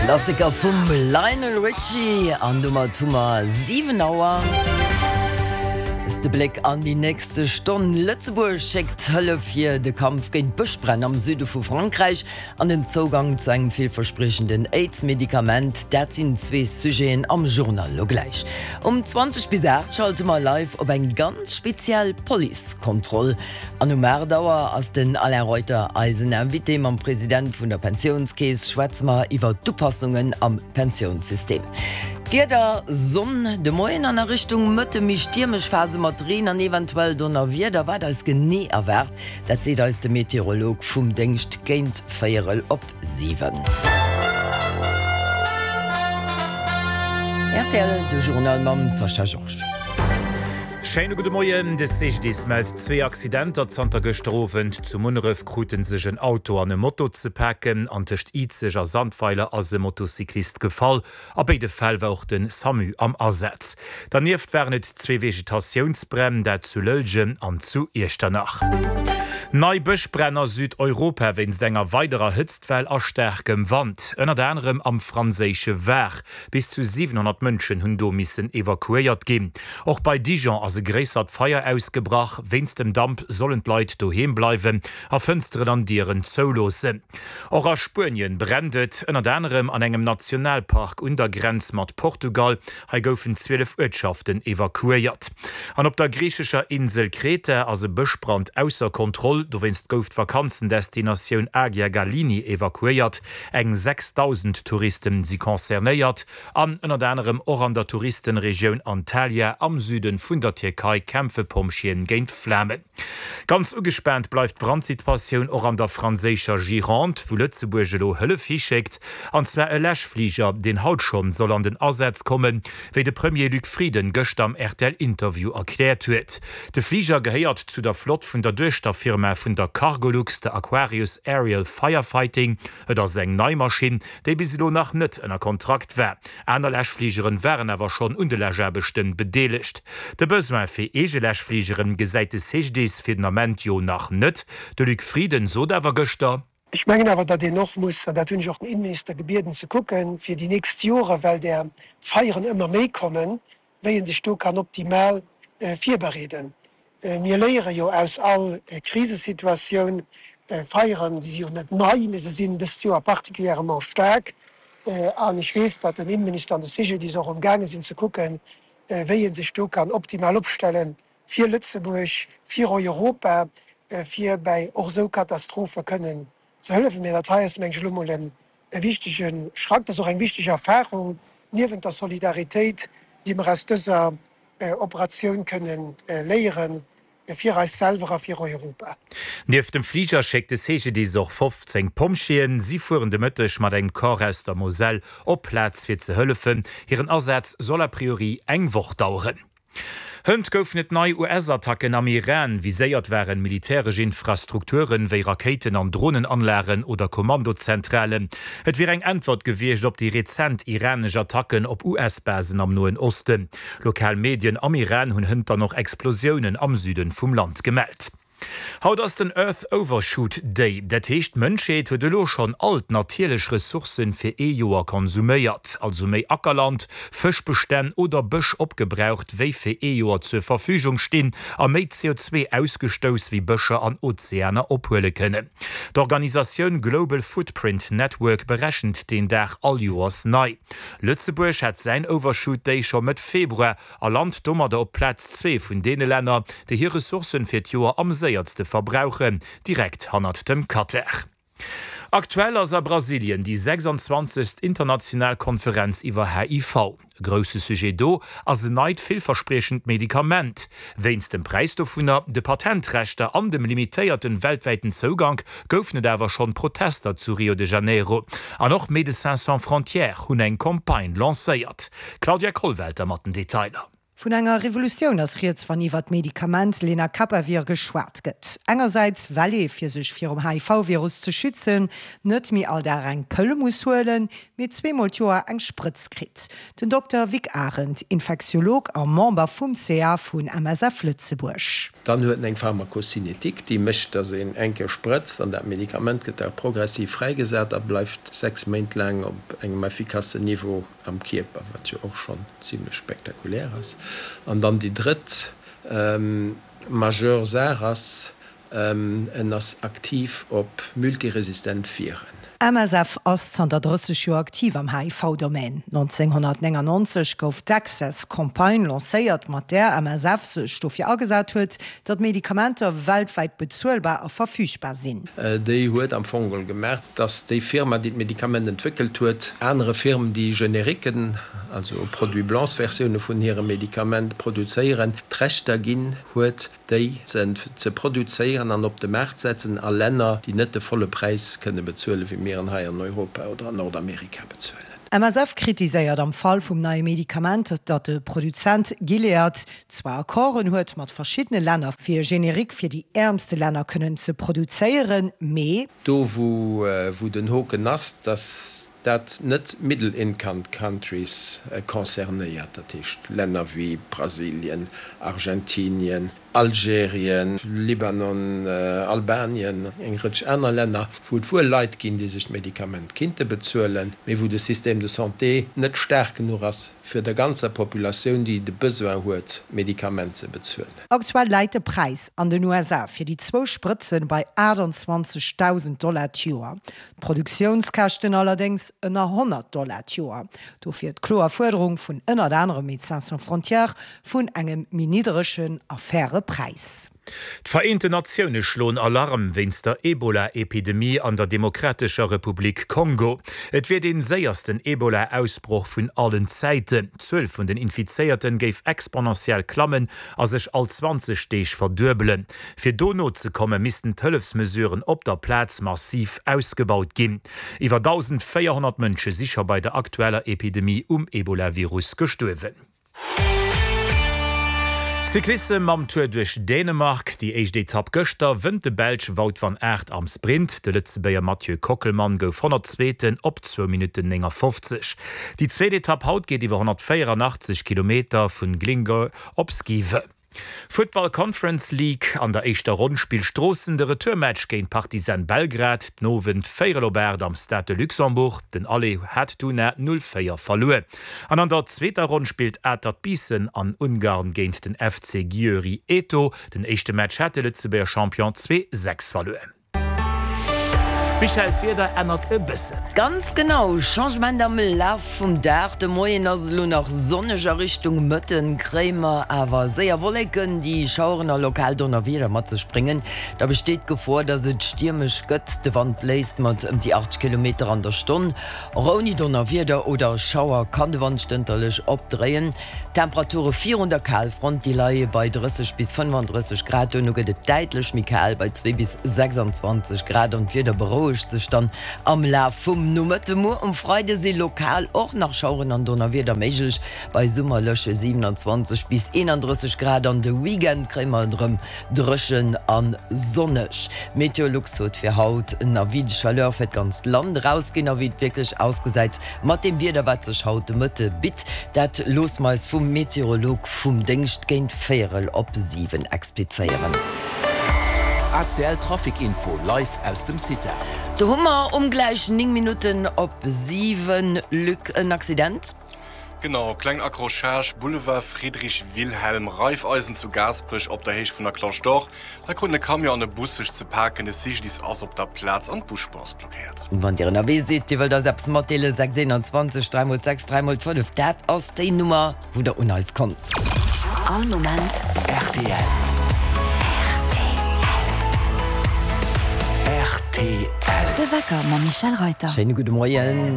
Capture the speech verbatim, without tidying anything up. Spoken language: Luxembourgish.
Klassiker vum Lionel Richie an domat hu mer siwen Auer. Ass de Bléck an déi nächste Stonn. Lëtzebuerg schéckt Hëllef fir de Kampf géint d'Bëschbränn am Süde vu Frankräich an den Zougang zu engem villverspriechenden Aids-Medikament, dat sinn zwee Sujeten am Journal lo gläich. Um zwanzeg bis aacht schalte mer live op eng ganz speziell Policekontroll. An um aacht Auer ass den Alain Reuter eisen Invité. Mam President vun der Pensiounskeess schwätze mer iwwer d'Upassungen am Pensiounssystem. D'Wieder, Sonn de Moien an a Richtung Mëtte méi stiermesch Phase mat Reen an eventuell Donnerwieder. Wat eis genee erwaart, dat seet eis de Meteorolog vum Déngscht géint véierel op siwen. Rtl, de Journal mam Sascha Georges. Schéine gudde Moien, De C G D I S mellt zwee Accidenter zanter gëschter Owend. Zu Munneref krute sech en Auto an e Moto ze paken an tëscht Izeg a Sandweiler ass e Motocyclist gefall. A béide Fäll war och de SAMU am Asaz. Dernieft waren et zwee Vegetatiounsbränn, dat zu Lëllgen an zu Iechternach. Nei Bëschbränn a Südeuropa wéinst enger weiderer Hëtztwell a staarkem Wand, ënnert anerem am franséische Var. Bis zu siwenhonnert Mënschen hunn do missen evakuéiert ginn. Och bei Dijon ass e gréissert Feier ausgebrach. Wéinst dem Damp sollen d'Leit doheem bleiwen a Fënsteren an Dieren zouloossen. Och a Spuenien brennt et, ënnert anerem an engem Nationalpark un der Grenz mat Portugal. Hei goufen zwielef Uertschaften evakuéiert. An op der griichescher Insel Kreta ass e Bëschbrand ausser Kontroll. Dowéinst gouf d'Vakanzendestinatioun Agia Galini evakuéiert. Eng sechsdausend Touristen si concernéiert. An ënnert anerem och an der Touristenregioun Antalya am Süde vun der Tierkei kämpfe Pompjeeën géint d'Flamen. Ganz ugespaant bleift d'Brandsituatioun och an der franséischer Gironde, wou Lëtzebuerg elo Hëllef hischéckt, an zwar e Läschfliger, deen haut schonn soll an den Asaz kommen, wéi de Premier Luc Frieden gëschter am R T L-Interview erkläert huet. De Fliger gehéiert zu der Flott vun der Duechterfirma vun der Cargolux, der Aquarius Aerial Firefighting. Et ass eng nei Maschinn, déi bis elo nach net ënner Kontrakt war. Aner Läschfligeren waren awer schonn un de Läschaarbechten bedeelegt. De Besoin fir eege Läschfligeren gesäit de C G D I S fir den Ament jo nach net. De Luc Frieden sot awer gëschter: Ech mengen awer, datt een och muss, an dat hunn ech och den Innenminister gebieden ze kucken, fir déi nächst Jore, well där Feieren ëmmer méi kommen, wéi ee sech do kann optimal virbereeden. Mir léiere jo aus all Krisesituatioun. Feieren, déi si jo net nei, mee se sinn dëst Joer particulièrement staark. An ech weess, datt den Innenminister an de C G D I S och amgaange sinn ze kucken, wéi ee sech do kann optimal opstellen fir Lëtzebuerg, fir Europa, fir bäi och esou Katastrophe kënnen ze hëllefen. Mee dat hei ass, meng ech, elo mol e wichtege Schrack. Dat ass och eng wichteg Erfahrung niewent der Solidaritéit, déi mer aus dëser Operatioun kënnen léieren, fir eis selwer a fir Europa. Nieft dem Fliger schéckt de C G D I S och fofzéng Pompjeeën. Si fueren de Mëtteg mat engem Corps aus der Moselle op d'Plaz fir ze hëllefen. Hiren Asaz soll a priori eng Woch daueren. Hënt goufen et nei U S-Attacken am Iran. Viséiert waren militäresch Infrastrukturen wéi Rakéiten an Dronenanlagen oder Kommandozentralen. Et wier eng Äntwert gewiescht op déi rezent iranesch Attacken op U S-Basen am Noen Osten. Lokal Medien am Iran hunn hënt dann och Explosiounen am Süden vum Land gemellt. Haut ass den Earth Overshoot Day. Dat heescht, d'Mënschheet huet elo schonn all d'natierlech Ressourcen fir ee Joer konsuméiert, also méi Ackerland, Fëschbestänn oder Bësch opgebraucht, wéi fir ee Joer zur Verfügung stinn, a méi C O zwee ausgestouss, wéi Bëscher an Ozeaner ophuele kënnen. D'Organisatioun Global Footprint Network berechent deen Dag all Joers nei. Lëtzebuerg hat säin Overshoot Day scho Mëtt Februar a lant domadder op Plaz zwee vun deene Länner, déi hir Ressourcen fir d'Joer am séierste verbrauchen, direkt hannert dem Katar. Aktuell ass a Brasilien déi sechsanzwanzegst international Konferenz iwwer H I V. E grousse Sujet do ass en neit villverspriechend Medikament. Wéinst dem Präis dovunner, de Patentrechter an dem limitéierten weltwäiten Zougank goufen et awer schonn Protester zu Rio de Janeiro. An och Médecins Sans Frontières hunn eng Campagne lancéiert. Claudia Kollwelter mat den Detailer. Vun enger Revolutioun ass rieds, wann iwwer d'Medikament Lenacapavir geschwat gëtt. Engersäits well ee fir sech virum H I V-Virus ze schützen net méi all Dag eng Pëll muss huelen, mee zweemol d'Joer eng Sprëtz kritt. Den Dokter Vic Arendt, Infektiolog a Member vum C A vun M S F Lëtzebuerg. Dann huet en eng Pharmakocinetik, déi mécht, datt een eng Kéier sprëtzt an dat Medikament gëtt da progressiv fräigesat a bleift sechs Méint laang op engem effikassen Niveau am Kierper, wat jo och schonn zimlech spektakulär ass. An dann déi drëtt majeur Saach ass, en ass aktiv op multiresistent Viren. M S F ass zanter drësseg Joer aktiv am H I V-Domaine. neunzehnhundertneunundneunzeg gouf d'Access-Campagne lancéiert, mat där M S F sech dofir agesat huet, datt Medikamenter weltwäit bezuelbar a verfügbar sinn. Déi huet am Fong geholl gemaach, datt déi Firma, déi d'Medikament entwéckelt huet, anere Firmen, déi Generiken, also Produits blancs-Versioune vun hirem Medikament produzéieren, d'Rechter ginn huet, déi ze produzéieren an op de Maart setzen a Länner, déi net de volle Präis kënne bezuelen, wéi mir en hei an Europa oder an Nordamerika bezuelen. M S F kritiséiert am Fall vum neie Medikament, datt de Produzent Gilead zwar Accorden huet mat verschiddene Länner fir Generik fir déi äermste Länner kënnen ze produzéieren, mee Do wou den Hoken ass, datt dat net Middle-Income Countries concernéiert, dat heescht Länner wéi Brasilien, Argentinien, Algerien, Libanon, Albanien, eng Rëtsch aner Länner, wou et wuel Leit ginn, déi sech d'Medikament kinnte bezuelen, mee wou de Système de santé net staark genuch ass, fir der ganzer Populatioun, déi de Besoin huet, d'Medikament ze bezuelen. Aktuell läit de Präis an den U S A fir déi zwou Sprëtzen bei achtundzwanzegdausend Dollar d'Joer. D'Produktiounskäschten allerdéngs ënner honnert Dollar d'Joer. Dofir d'kloer Fuerderung vun ënnert anerem Médecins Sans Frontières vun engem méi niddregen a faire Präis. D'Vereenten Natioune schloen Alarm wéinst der Ebola-Epidemie an der Demokratescher Republik Kongo. Et wier dee séiersten Ebola-Ausbroch vun allen Zäiten. D'Zuel vun den Infizéierten géif exponentiell klammen a sech all zwanzeg Deeg verduebelen. Fir do nozekommen, missten d'Hëllefsmesuren op der Plaz massiv ausgebaut ginn. Iwwer tausendvéierhonnert Mënsche si scho bei der aktueller Epidemie um Ebola-Virus gestuerwen. Cyclisse mam Tour duerch Dänemark, déi éischt Etapp gëschter, wënnt de Belsch Wout van Aert am Sprint. De Lëtzebuerger Mathieu Kockelmann gouf honnertzweeten op zwou Minutten neunundfünfzig. Déi zweet Etapp haut geet iwwer honnertvéierundachtzeg Kilometer vun Glyngøre op Skive. Football Conference League an der éischter Ronn spillt Stroossen de Retourmatch géint Partizan Belgrad, den Owend véierel op aacht am Stade de Luxembourg. Den Aller hat dunn null véier verluer. An an der zweeter Ronn spillt Atert Biissen an Ungarn géint den F C Győri Eto. Den éischte Match hat de Lëtzebuerger Champion zwee sechs verluer. Michel, d'Wieder ännert e bëssen. Ganz genau, Changement am Laf vum Dag. De Moien ass elo nach sonneg a Richtung Mëtten, kréie mer awer séier Wolleken, déi Schaueren a lokal Donnerwieder mat sech bréngen. Da besteet d'Gefor, datt et stiermesch gëtt. De Wand bléist mat ëm déi achtzeg Kilometer an der Stonn. Och ouni Donnerwieder oder Schauer kann de Wand stënterlech opdréien. Temperature virun der Kalfront, déi leie bei drësseg bis fënnefundrësseg Grad. Duerno gëtt et däitlech méi kal bei zwee bis sechsundzwanzeg Grad an d'Wieder berouegt sech dann am Laf vum Nomëtte. Muer um Freide si lokal och nach Schaueren an Donnerwieder méiglech bei summerleche siebenundzwanzeg bis eenunddrësseg Grad. An de Weekend kréie mer erëm dréchen an sonneg. Meteolux huet fir haut en Avis de Chaleur fir d'ganzt Land rausginn, a wéi et wierklech ausgesäit mat dem Wieder, wat sech haut de Mëtte bitt. Dat loosse mer eis vum Meteorolog vum Déngscht géint véierel op siwen explizéieren. A C L Traffic Info live aus dem Cita. Do hu mer um gläich néng Minutten op siwen, Luc, en Accident. Genau, kleng Accrochage, Boulevard Friedrich Wilhelm, Raiffeisen zu Gaasperech op der Héicht vun der Cloche d'Or. Da kruten e Camion an e Bus sech ze paken, de C G D I S ass op der Plaz an d'Busspur ass blockéiert. Wann Dir ënnerwee sidd, Dir wëllt eis eppes matdeelen, sechs eenundzwanzeg, dräi mol sechs, dräi mol fënnef, dat ass déi Nummer, wou der un eis kommt. All Moment R T L. R T L. De Wecker mam Michel Reuter. Schéine gudde Moien.